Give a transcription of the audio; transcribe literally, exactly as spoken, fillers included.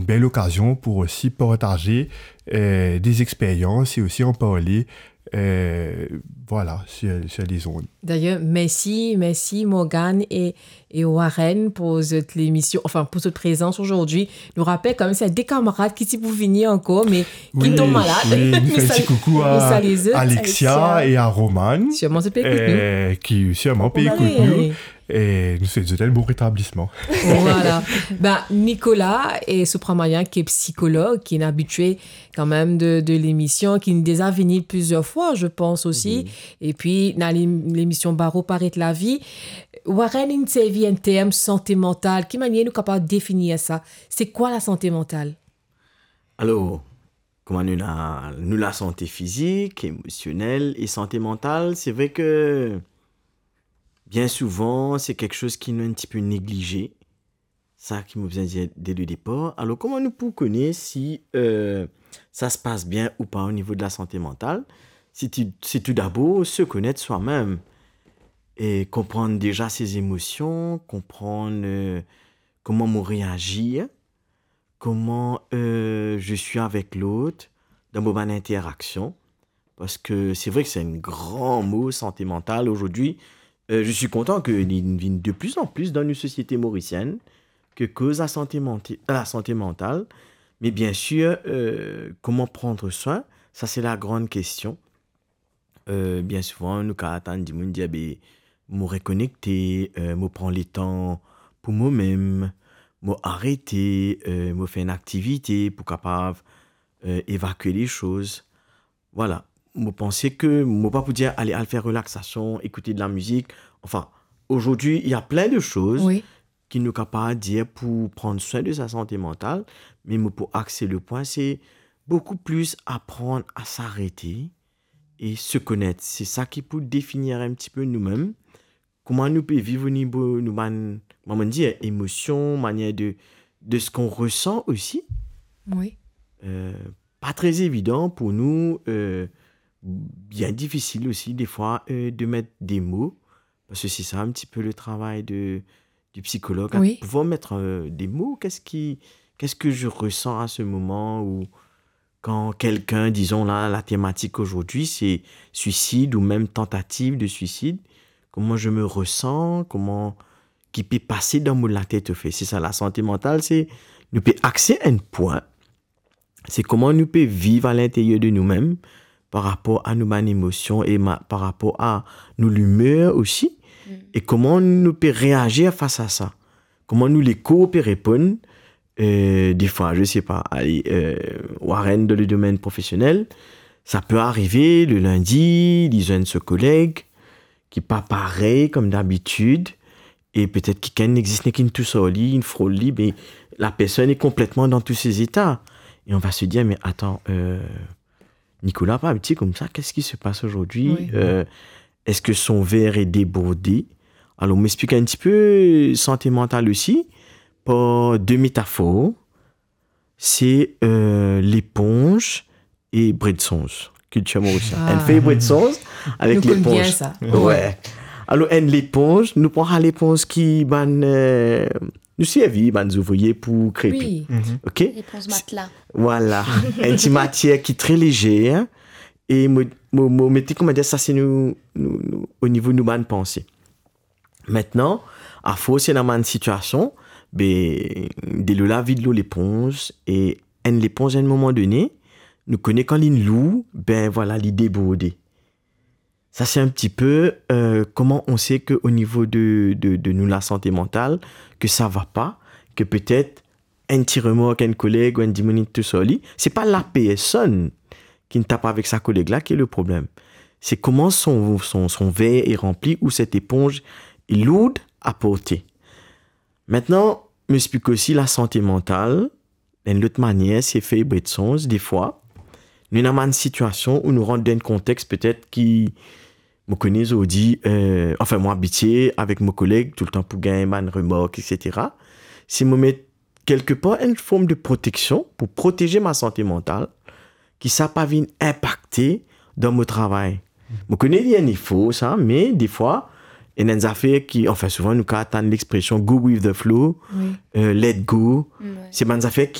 bel okazion pou osi partaze, euh, des expériences et aussi en parler, euh, voilà, sur, sur les ondes. D'ailleurs, merci, merci Morgan et, et Warren pour cette émission, enfin, pour cette présence aujourd'hui. Nou rapel kanmem, se de kamarad ki ti pou vini ankor, me ki tonm malad. Wi, nou fer enn ti koukou a Alexia e a Roman, sirman zot pe ekout nou, euh, ki sirman pe ekout nou. E nou swet zot enn bon retablisman. Voilà. Ben, Nicolas e Supramanian, ki psikolog, ki inn abitie kanmem de, de lemision, ki inn deza vini plizier fwa, je pense aussi. Mhm. Epi, dan lem-, lemision Baro Paret Lavi, Warren inn servi enn term sante mantal. Ki manier nou kapav definir sa? Se kwa lasante mantal? Alor, kouma nou ena, nou lasante fizik, emosionel e sante mantal, se vre ke bien souvan, se kiksoz ki nou enn tipe neglize. Sa ki mo bizin dir de le depar. Alor, kouma nou pou kone si, euh, sa se pas bien ou pa o nivo de lasante mantal? Se tou, se tou dabor se konet swa-mem e konprann deza se emosion, konprann, euh, kouma mo reazir, comment, euh, je suis avec l'autre, dan mo bann interaksion. Parski se vre ki se enn gran mo, sante mantal. Aujourd'hui, euh, je suis content ke li vinn de plus en plus dan nou sosiete morisienn, ke koz lasante mant-, lasante mantal. Me bien sir, euh, comment prendre soin, sa se lagran kestion. Euh, bien souvan, nou kapav tann dimoun dir, be, mo rekonekte, euh, mo pran letan pou momem, mo arete, euh, mo fer enn aktivite pou kapav, euh, evakue lesoz. Voilà. Mo panse ke mo pa pou dir ale, al fer relaxation, écouter de la musique. Enfin, aujourd'hui, il y a plein de choses, wi, ki nou kapav dir pou pran swin de sa sante mantal, me mo pou axe lepwin, se boukou plis aprann a s'arrêter et se connaître. Se sa ki pou definir enn tipe noumem, kouma nou pe viv o nivo nou bann, kouma mo dir, emosion, manière de, de ce qu'on ressent aussi. Wi. Euh, pa tre evidan pou nou, euh, bien difisil osi, defwa, euh, de met de mo, parski se sa enn tipe le travay de, du psychologue, à, wi, pouvoir mettre, euh, des mots. Qu'est-ce qui, qu'est-ce que je ressens à ce moment? Ou quand quelqu'un, disons là, la thématique aujourd'hui, c'est suicide ou même tentative de suicide, comment je me ressens, kouma ki pe pase dan mo latet, ofet. Se sa, lasante mantal, se nou pe axe enn pwin, se kouma nou pe viv alinterier de noumem, par rapor a nou bann emosion e ma-, par rapor a nou limer osi, mm, e kouma nou pe reazir fas a sa, kouma nou lekor pe reponn. Euh, defwa, je sais pas, ale, euh, Warren, dan le domaine professionnel, sa pe arive, le lindi, li zwenn so koleg, ki pa parey kouma dabitid, e petet kikenn nek zis nek inn tousar li, inn frol li, me la personne est complètement dans tous ses états. Et on va se dire, mais attends, euh, Nicolas pa abitie koumsa, qu'est-ce qui se passe aujourd'hui? Wi. Euh, est-ce que son verre est débordé? Alor, mo explik enn tipe sante mantal osi par de metafor. Se, euh, leponz e bred sonz. Kiltir morisienn. Ah. Enn fey bred sonz avek leponz. Nou konn bien sa. Wi. Alor, enn leponz, nou pran sa leponz ki bann, euh, nou servi bann zouvrie pou krepe. Wi. Mhm. Ok? Leponz matla. Voilà. Enn ti matier ki tre lezer, e mo, mo, mo mete, kouma dir, sa se nou, nou, nou, o nivo nou bann panse. Aster, afors ena bann sitiasion, be, delo la vid lor leponz, e enn leponz, enn moman done, nou kone kan linn lour, be, voilà, li deborde. Sa se enn tipe, euh, kouma on se ke o nivo de, de, de nou lasante mantal, ke sa va pa, ke petet enn ti remark enn koleg ou enn dimoun inn tousar li, se pa lapersonn ki tap avek sa koleg la ki le problem. Se kouma son, son, son ver est rempli ou cette éponge est lourde à porter. Aster, mo explik osi lasante mantal, enn lot manier, se fey bred sonz, defwa. Nou ena bann sitiasion ou nou rant dan enn kontex petet ki, mo kone zordi, euh, anfin, mo abitie avek mo koleg toultan pou gagn bann remark, et cetera. Si mo met kelkepar enn form de proteksion pou proteze mo sante mantal, ki sa pa vinn inpakte dan mo travay. Mo kone li enn efor sa, me defwa, ena enn zafer ki, anfin, souvan nou kapav tann lexpresion go with the flow, wi, euh, let go. Wi. Se bann zafer ki